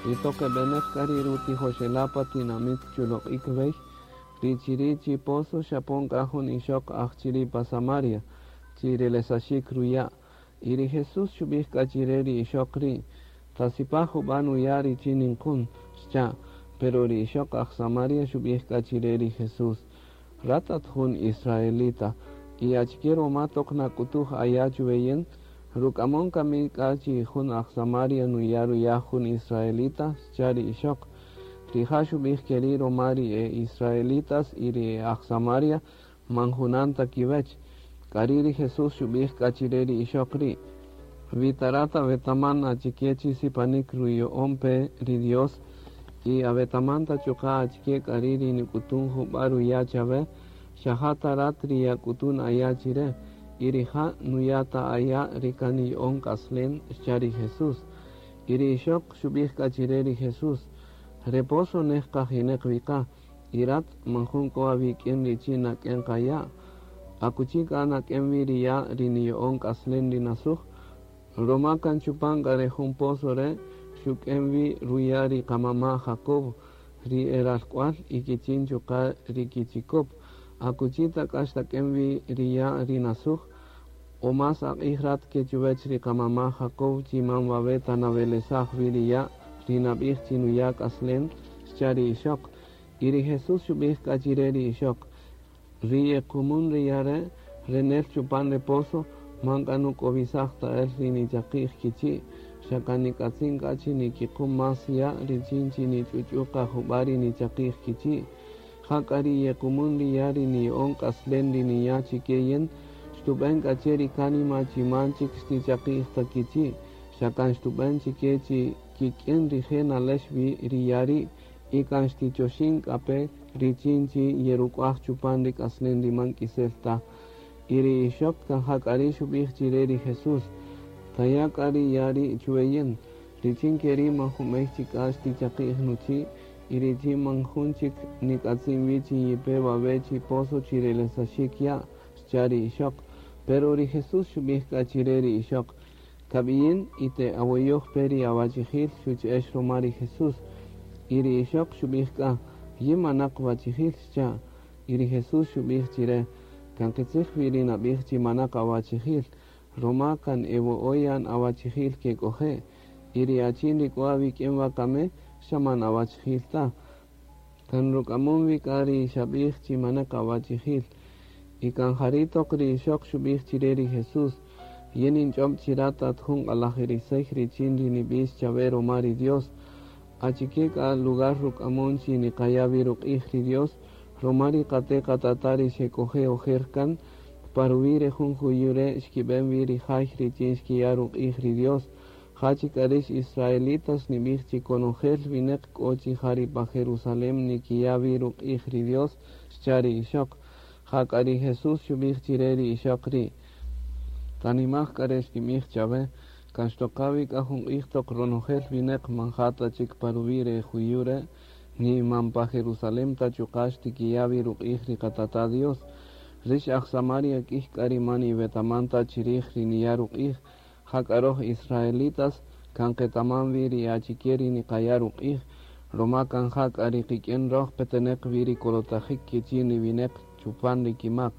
Y toq e beneq k'a ri rutijoxela' pa tinamit chuloq'ik wey, ri chiri' chi pozo xapon k'a jun ixoq aj chiri' pa Samaria, chi relesaxik ruya'. Y ri Jesús xubij k'a chire ri ixoq ri': Tasipaj juba' nuya' richin ninqun, xcha'. Pero ri ixoq aj Samaria xubij k'a chire ri Jesús: Rat at jun israelita, y achike roma toq nak'utuj aya' chuwe yin? Ruk'amon kami k'a chi jun aj Samaria nuya' ruya' jun israelita? Xcha' ri ixoq. Rija' xubij keri' roma ri e israelitas y ri e aj Samaria man junan ta kiwech. K'ari' ri Jesús xubij k'a chire ri ixoq ri': Wi ta rat awetaman achike chi sipanik ruya'on pe ri Dios y awetaman ta chuqa' achike k'ari' ri nik'utun juba' ruya' chawe, xa ja ta rat ri yak'utun aya' chire, y rija' nuya' ta aya' ri kan niya'on k'aslen, xcha' ri Jesús. Y ri ixoq xubij k'a chire ri Jesús: Re pozo nej qajineq wi qa, y rat man jun k'o awik'in richin nak'en qa ya'. Akuchi k'a nak'en wi ri ya' ri niya'on k'aslen ri nasuj? Roma kan chupan k'a re jun pozo re' xuk'en wi ruya' ri qamama' Jacob, ri e ralk'ual y kichin chuqa' ri kichikop. Akuchi ta k'a xtak'en wi ri ya' ri nasuj? O más aq'ij rat ke chuwech ri qamama' Jacob chi man wawe' ta nawelesaj wi ri ya' ri nab'ij chi nuya' k'aslen? Xcha' ri ixoq. Y ri Jesús xub'ij k'a chire ri ixoq: Ri yequmun ri ya' re' re nel chupan re pozo, man k'a nuk'owisaj ta el ri nichaqi'j kichi', xa kan nik'atzin k'a chi nikiqum más ya' richin chi nich'uch'u qa jub'a' ri nichaqi'j kichi'. Ja k'a ri yequmun ri ya' ri niya'on k'aslen ri niya' chike yin, xtub'en k'a che ri kánima chi man chik xtichaqi'j ta kichi', xa kan xtub'en chike chi kik'in rije' nalex wi ri ya' ri', y kan xtichoxin k'a pe richin chi yeruk'uaj chupan ri k'aslen ri man k'isel ta. Y ri ixoq kan ja k'a ri' xub'ij chire ri Jesús: Taya' k'a ri ya' ri' chuwe yin, richin keri' man jun b'ey chik k'a xtichaqi'j nuchi', y richin man jun chik nik'atzin wi chi yipe wawe' chi pozo chi relesaxik ya', xcha' ri ixoq. Pero ri Jesús xub'ij k'a chire ri ixoq: Kab'iyin y te awoyoj pe ri awachijil, xuch'ex roma ri Jesús. Y ri ixoq xub'ij k'a: Yin manaq wachijil, xcha'. Y ri Jesús xub'ij chire: Kan qitzij wi ri nab'ij chi manaq awachijil, roma kan e wo'o yan awachijil kek'oje', y ri achin ri k'o awik'in wakami xa man awachijil ta. Kan ruk'amon wi k'a ri xab'ij chi manaq awachijil. Y kan jari' toq ri ixoq xub'ij chire ri Jesús: Yin ninch'ob' chi rat at jun q'alajirisey richin ri nib'ix chawe roma ri Dios. Achike k'a lugar ruk'amon chi niqaya' wi ruq'ij ri Dios, roma ri qate' qatata' ri xek'oje' ojer kan, pa ruwi' re jun juyu' re' xkib'en wi ri jay richin xkiya' ruq'ij ri Dios. Ja chik k'a rix israelitas nib'ij chi konojel winäq k'o chi ja ri pa Jerusalem nikiya' wi ruq'ij ri Dios, xcha' ri ixoq. Ja k'a ri Jesús xub'ij chire ri ixoq ri': Tanimaj k'a re xtinb'ij chawe, kan xtoqa wi k'a jun q'ij toq ronojel winäq man ja ta chik pa ruwi' re juyu' re', ni man pa Jerusalem ta chuqa' xtikiya' wi ruq'ij ri qatata' Dios. Rix aj Samaria k'ij k'a ri man iwetaman ta chirij ri niya' ruq'ij, ja k'a roj israelitas kan qetaman wi ri achike ri niqaya' ruq'ij, roma kan ja k'a ri qik'in roj peteneq wi ri kolotajik kichin ri winäq chupan ri kimak.